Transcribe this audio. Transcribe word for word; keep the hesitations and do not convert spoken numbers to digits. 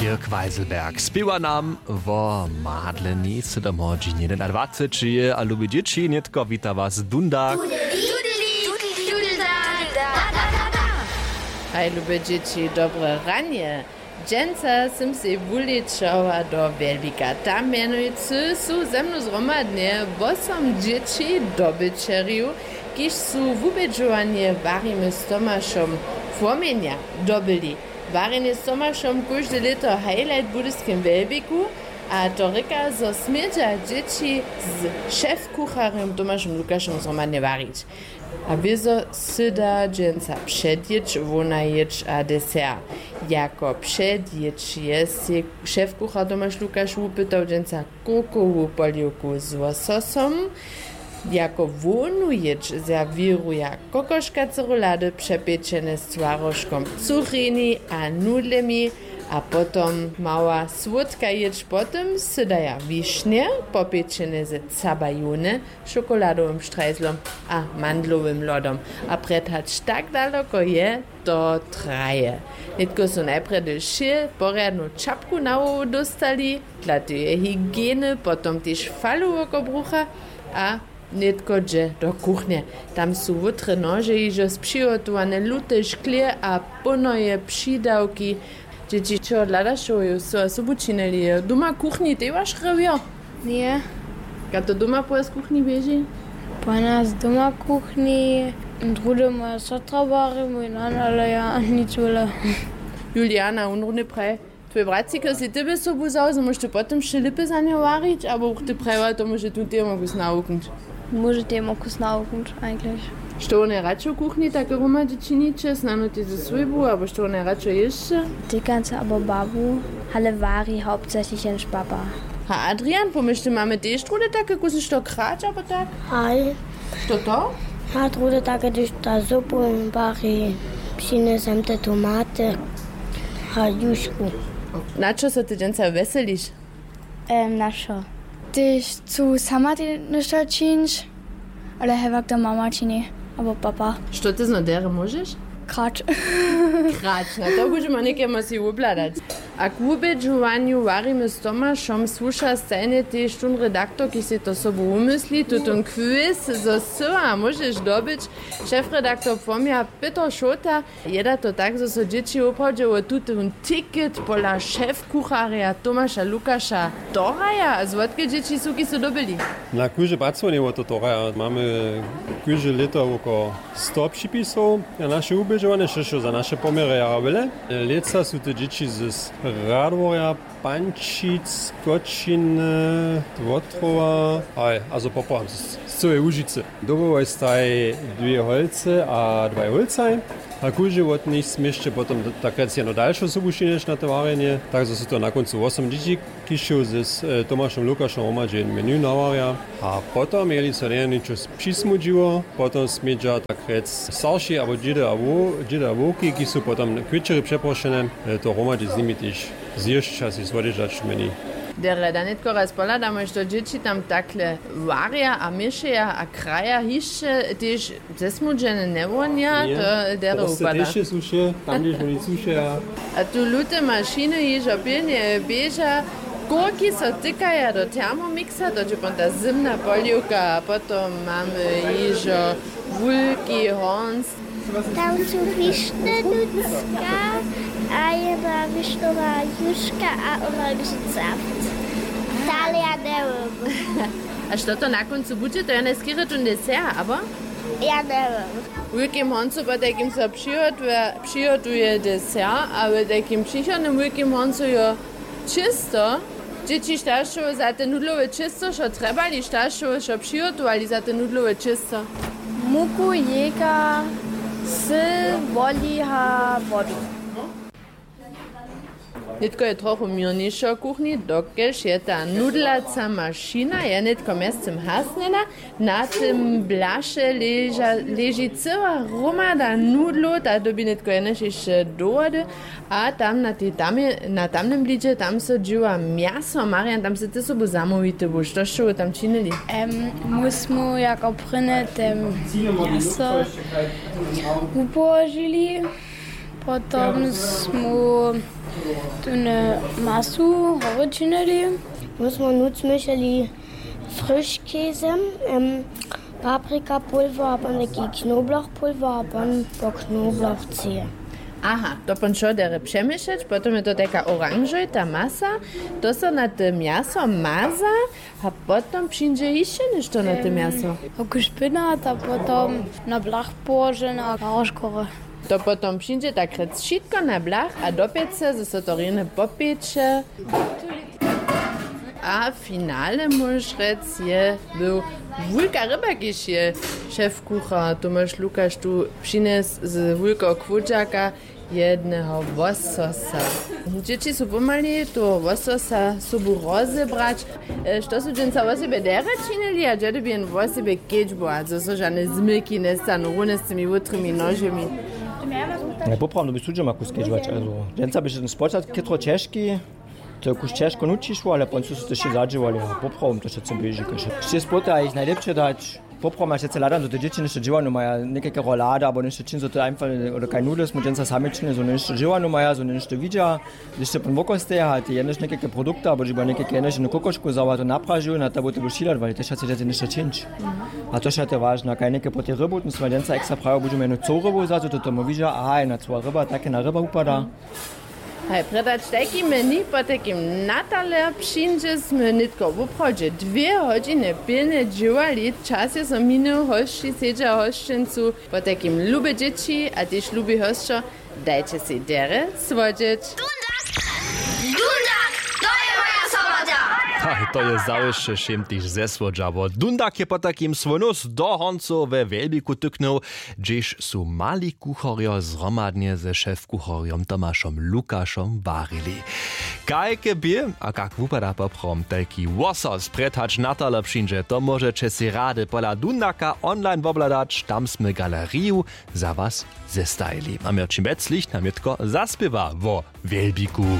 Dirk Weiselberg spěwa nam wo madleni. Sydom hodźin jedynadwaceći je a lubi dźěći, nětko wita was dunda. Haj, lube dźěći, dobre ranje. Dźensa sym sej wulečała do Wjelbika. Tam mjenujcy su ze mnu zhromadnje wosom dźěći dobyćerjow, kiž su wubědźowanje Warimy z Tomašom Płomjenja dobyli. Warjenje z Tomašom kóžde lěto highlight w budyskim Wjelbiku, a to rěka, zo smědźa dźěći z šefkucharjom Tomašom Lukašom zhromadnje warić. A wězo sy da dźensa předjědź, wona jědź a desert. Jako předjědź je sej šefkuchar Tomaš Lukaš wupytał dźensa kurkowu poliwku z łososom. Jako hłownu jědź serwěruja kokoška, cerulady přepečene z twarožkom cuchrini a nudlemi, a potom mała słódka jědź. Potom sy daja wišnje popečene ze cabajony, šokoladowym štrajzlom a mandlowym lodom. A prjed hač tak daloko je, to traje. Nětko su najprjedy wšě porjadnu čapku na hłowu dóstali, dla teje hygieny, potom tež falu woko brucha a nětko dźe do kuchnje. Tam su wótre nože hižo z přihotowane lute šklě a ponoje přidawki. Dźěći, čeho hladašo, jo, su a sobu činili? Doma kuchni tež waš rewjo? Ně. Kaž to doma po was kuchni běži? Po nas doma kuchni, druhdy moja sotra wari, mój nan, ale ja nic wjele. Juliana, wón runje praji, twój bratřik sej tebě sobu wzał, zo móžeš ty potom wšě lěpy za njeho warić, abo ty prajiła tomu, že tu tež móhł kus nawuknąć? Móže tež móhł kus nawuknąć, eigentlich. Što wón je radšo w kuchni, tak hromadźe činiće, snano tež ze swójbu, abo što wón je radšo jěsće? Tykanca abo babu, ale wari hauptsächlich jenož papa. A Adrian, pomyšlimy, mamy tež druhdy take kusy što krać, abo tak? Haj. Što to? A druhdy take, hdyž ta zupu wari, přinjesem te tomaty a jušku. Na čo so ty dźensa wjeseliš? Em, na wšo. Tež chcu sama te-, něšto čińć, ale hewak to mama čini, abo papa. Što ty zno derje móžeš? Krać. Krać, na to budźemy někemu si wobhladać. A k wubědźowanju Warimy z Tomašom słuša stajnje tež tón redaktor, kiž sej to sobu wumysli, tutón quiz, zo sy a móžeš dobyć. Šefredaktor Płomja Pětr Šołta. Je da to tak, zo so dźěći woprawdźe wo tutón ticket pola šefkucharja Tomaša Lukaša dohraja? A zwotke dźěći su, kiž su dobyli? Na kóžde pacowanje wo to dohraja. Mamy kóžde lěto woko sto připisow na naše wubědźowanje, štož je za naše poměry jara wjele. Lětsa su te dźěći z Radworja, Pančic, Kočiny, Wotrowa, haj, a zo poprawam z, z cyłej Łužicy. Dobrołoj staj dwě holcy a dwaj hólcaj. A kóždy wot nich směsće potom d-, tak rjec jednu dalšu sobu přinjeć na to warjenje, tak zo su to na kóncu wosom dźěći, kiž su z, e, Tomašom Lukašom hromadźe jedno menu nawarja. A potom, jeli so njeje něčo s-, přismudźiło, potom smědźa tak rjec starši abo dźědy a wo-, dźědy a wowki, kiž su potom k wječeri přeprošene, e, to hromadźe z nimi tež zjěsć a sej słodźežać menu. Derje, da nětko raz pohladamy, što dźěći tam takle warja a měšeja a kraja, hišće tež zesmudźene njewonja, to derje wupada. Tež je suše, tam hdźež woni sušeja. A tu lute mašiny hižo pilnje běža, kurki so tykaja do Thermomixa, to je potom ta zymna poliwka, a potom mamy hižo wulki hornc. Tam su wišny nutřka a jedna wišnowa juška a oranžny saft. Dale ja njewěm. A što to na kóncu budźe? To je najskerje tón desert, abo? Ja njewěm. W wulkim horncu potajkim so přihotuje, přihotuje desert, a w tajkim přichodnym wulkim horncu jo čěsto. Dźěći staršow za te nudlowe čěsto, što trjebali staršow, što přihotowali za te nudlowe čěsto? Muku, jejka, syl, woliha, wodu. Nětko je trochu měrnišo w kuchni, dokelž je ta nudlaca mašina je nětko mjeztym hasnjena. Na tym blaše leža, leži cyła hromada nudlow, ta dyrbi nětko jenož hišće do wody. A tam na tej tamje, na tamnym blidźe, tam so dźěła mjaso. Marian, tam sy ty sobu zamołwity był. Što sće wy tam činili? Em, my smy jako prěnje te mjaso wupołožili. Potom smy tune masu hory činili. My smo nutř měšeli friškejzem, em, paprika pulwer a pon taki knobloch pulwer a pon po knobloch ceje. Aha, to pon šoderje přeměšeć, potom je to taka oranžojta masa, to so na te mjaso maza. A potom přińdźe hišće něšto na te mjaso. Oku špinat a potom na blach połožena a rožkory. To potom přińdźe tak rjec wšitko na blach a do pěce, zo so to rjenje popječe. A w finale móžeš rjec je był wulka ryba, kiž je šef kuchar Tomaš Lukaš tu přinjesł z wulkeho kłódźaka. Jedneho łososa. Dźěći su pomali toho łososa sobu rozebrać. E, što su dźensa wosebje derje činili a dźe dyrbi jen wosebje kedźbować, zo so žane zmyki njestanu runje z tymi wutrymi nožemi? Poprawom dyrbi sudźema kus kedźbować, also dźensa běše ten spočatk chytro ćežki. To je kus ćežko nutřišło, ale pon su so to wšě zadźěłali a poprawom to wšetcy běži kaž wšě spoty a jich najlěpše dać. Poprawom ja přeco hladam, zo te dźěći něšto dźěłanu maja, někajke rolady abo něšto čin, zo to einfach, oder kaj nudle smy dźensa sami činili, zo něšto dźěłanu maja, zo něšto widźa. Hdyž se pon wokosteja a te jenož někajke produkty abo dźiba někajke jenož jednu kokošku wzała, to napražuju na tabu to budu šilat, wali to wšetcy dźěći něšto čińć. A to wšetcy wažne, kaj něke po tej rybu, ten smy dźensa ekstra prajo budźemy jednu coł rybu wzać, zo to tomu widźa, aha, jedna coła ryba, tak jedna ryba wupada. Haj, prědać tajki menu, potajkim na taler přińdźe, smy nětko woprawdźe dwě hodźiny pilnje dźěłali, čas je so minył, hosći sedźa w hosćencu, potajkim lube dźěći a tež lubi hosćo, dajće sej derje słodźeć. Dundak, to je moja sobota! Haj, to je zawěsće wšěm tež zesłodźało. Dundak je potajkim swój nós do honcow we Wjelbiku tyknył, hdźež su mali kucharjo zhromadnje ze šefkucharjom Tomašom Lukašom warili. Kajke bě a kak wupada poprawom tajki łosos prjed hač na taler přińdźe, to móžeće sej rady pola Dundaka online wobhladać, tam smy galeriju za was zestajili. A Měrćin Beclich nam nětko zaspěwa wo Wjelbiku.